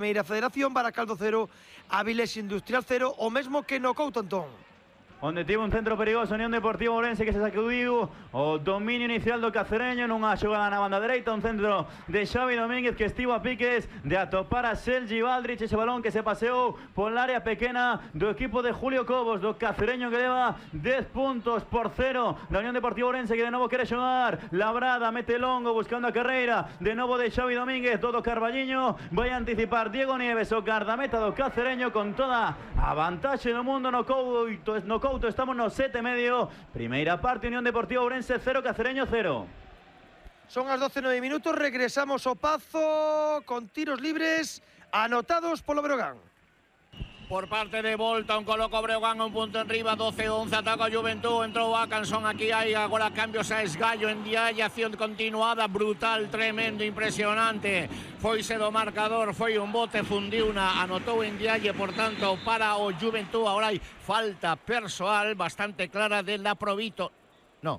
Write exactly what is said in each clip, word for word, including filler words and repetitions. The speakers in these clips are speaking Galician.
Primeira Federación, Baracaldo cero, Avilés Industrial cero, o mesmo que no Couto, Antón. Onde tivo un centro perigoso Unión Deportiva Ourense que se sacudiu o dominio inicial do cacereño nunha xogada na banda dereita, un centro de Xavi Domínguez que estivo a piques de atopar a Sergi Valdrich, ese balón que se paseou pola área pequena do equipo de Julio Cobos, do cacereño que leva dez puntos por cero da Unión Deportiva Ourense, que de novo quere xogar. Labrada mete longo buscando a carreira de novo de Xavi Domínguez, Dodo Carballiño vai anticipar Diego Nieves, o guardameta do cacereño, con toda a vantaxe do mundo no Couto, no Couto estamos no sete e medio. Primeira parte, Unión Deportiva Ourense cero, Cacereño cero. Son as doce e nove minutos, regresamos ao Pazo con tiros libres anotados polo Breogán. Por parte de Volta, un coloco Breogán, un punto enriba, doce once, ataca a Juventud, entrou Akanson, aquí hai agora cambios a Esgallo, en Dialle, acción continuada, brutal, tremendo, impresionante, foise do marcador, foi un bote, fundiuna, anotou en Dialle, por tanto, para o Juventud, agora hai falta persoal bastante clara de la Provito, no,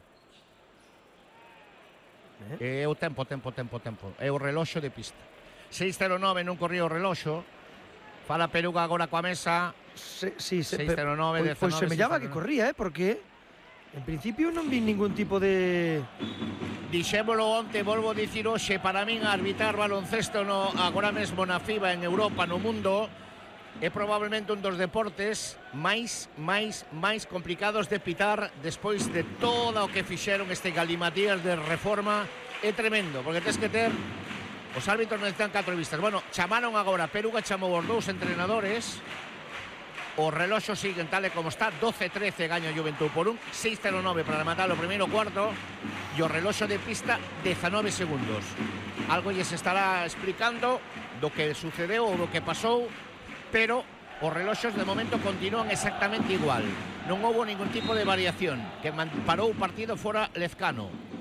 é o tempo, tempo, tempo, tempo, é o reloxo de pista, seis cero nove non corría o reloxo. Fala Peruga agora coa mesa. Se, sí, se, seis cero nove, pois, pois semellaba que corría, eh, porque en principio non vi ningún tipo de... Dixémolo onte, volvo a dicir hoxe, para min arbitrar baloncesto no, agora mesmo na FIBA, en Europa, no mundo, é probablemente un dos deportes máis, máis, máis complicados de pitar despois de todo o que fixeron este galimatías de reforma. É tremendo, porque tens que ter... Os árbitros necesitan catro vistas. Bueno, chamaron agora, Peruga chamou os dous entrenadores. O reloxo siguen tal e como está, doce trece gaña Juventud por un, seis cero nove para rematar o primeiro cuarto, e o reloxo de pista dezanove segundos. Algo lles estará explicando do que sucedeu ou do que pasou, pero os reloxos de momento continúan exactamente igual. Non houbo ningún tipo de variación, que parou o partido fora Lezcano.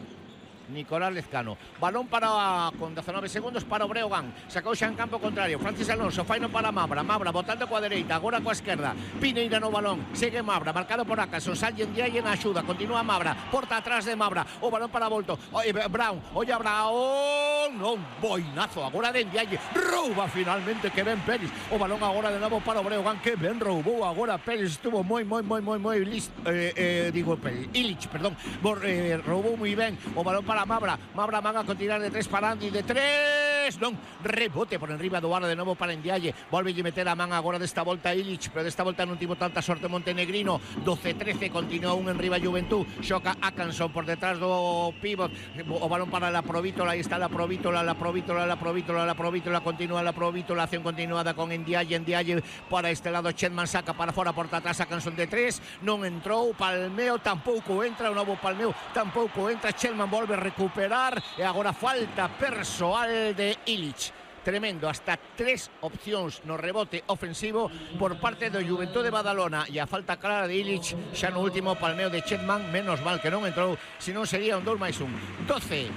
Nicolás Lezcano, balón para con dezanove segundos para o Breogán, sacou xa en campo contrario, Francis Alonso, faino para Mabra, Mabra botando coa dereita, agora coa esquerda, Pineira no balón, segue Mabra, marcado por Akanson, Sallen Dialle na axuda, continúa Mabra, porta atrás de Mabra, o balón para Volto, oye, Brown, oye Brown, non, boinazo, agora de Dialle, rouba finalmente que ben Pérez, o balón agora de novo para o Breogán, que ben roubou agora Pérez, estuvo moi, moi, moi, moi, moi listo, eh, eh, digo Pérez, Illich, perdón, Bor, eh, roubou moi ben, o balón para Mabra, Mabra van a continuar de tres para Andy, de tres, non, rebote por enriba do aro de novo para Ndiaye, volve a meter a man agora desta volta Illich, pero desta volta non tivo tanta sorte Montenegrino, doce trece, continúa un enriba Juventud, xoca Akanson por detrás do pivot, o balón para la Provítola, aí está la Provítola, la Provítola, la Provítola, la Provítola, continúa la Provítola, acción continuada con Ndiaye, Ndiaye para este lado, Chetman saca para fora, porta atrás Akanson de tres, non entrou, Palmeo tampouco entra, o novo Palmeo tampouco entra, Chetman volve a recuperar, e agora falta persoal de Illich. Tremendo, hasta tres opcións no rebote ofensivo por parte do Juventud de Badalona, e a falta clara de Illich xa no último Palmeo de Chetman, menos mal que non entrou, senón sería un dous máis un. doce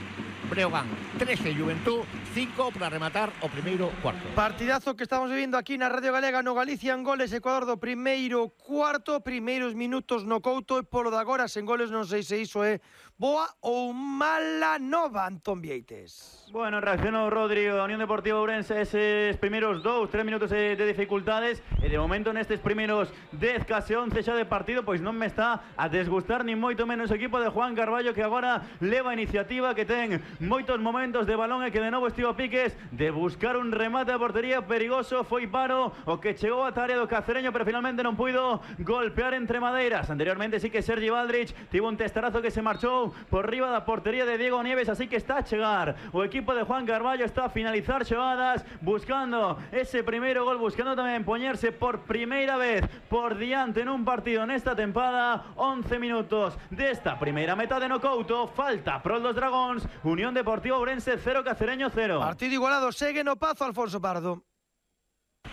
Breogán, trece Juventud, cinco para rematar o primeiro cuarto. Partidazo que estamos vivindo aquí na Radio Galega, no Galicia en goles, Ecuador do primeiro cuarto, primeiros minutos no Couto, e polo de agora sen goles non sei se iso é boa ou mala nova, Antón Vieites. Bueno, reaccionou Rodri, a Unión Deportiva Ourense, eses primeiros dous, tres minutos de, de dificultades, e de momento nestes primeiros dez, case once xa de partido, pois non me está a desgustar ni moito menos o equipo de Juan Carballo, que agora leva a iniciativa, que ten moitos momentos de balón e que de novo estivo a piques de buscar un remate a portería perigoso, foi Paro o que chegou a área do Cacereño, pero finalmente non puido golpear entre madeiras. Anteriormente sí que Sergi Valdrich tivo un testarazo que se marchou por riba da portería de Diego Nieves, así que está a chegar o equipo de Juan Carballo, está a finalizar xogadas, buscando ese primeiro gol, buscando tamén poñerse por primeira vez por diante nun partido nesta tempada. Once minutos desta primeira metade no Couto, falta prol dos Dragóns, Unión Deportiva Ourense cero, Cacereño cero. Partido igualado, segue no Pazo Alfonso Pardo.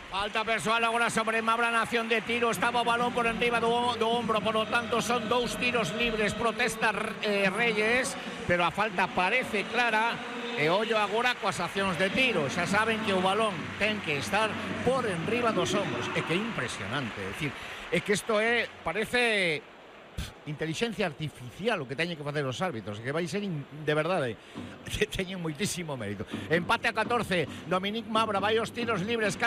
Falta persoal agora sobre Mabra, nación de tiro, estaba o balón por enriba do, do ombro, por lo tanto son dous tiros libres, protesta eh, Reyes, pero a falta parece clara, e ollo agora coas accións de tiro, xa saben que o balón ten que estar por enriba dos ombros, é que é impresionante, é dicir, é que isto é, parece inteligencia artificial o que teñen que facer os árbitros, que vai ser in, de verdade que teñen moitísimo mérito. Empate a catorce, Dominic Mabra vai aos tiros libres,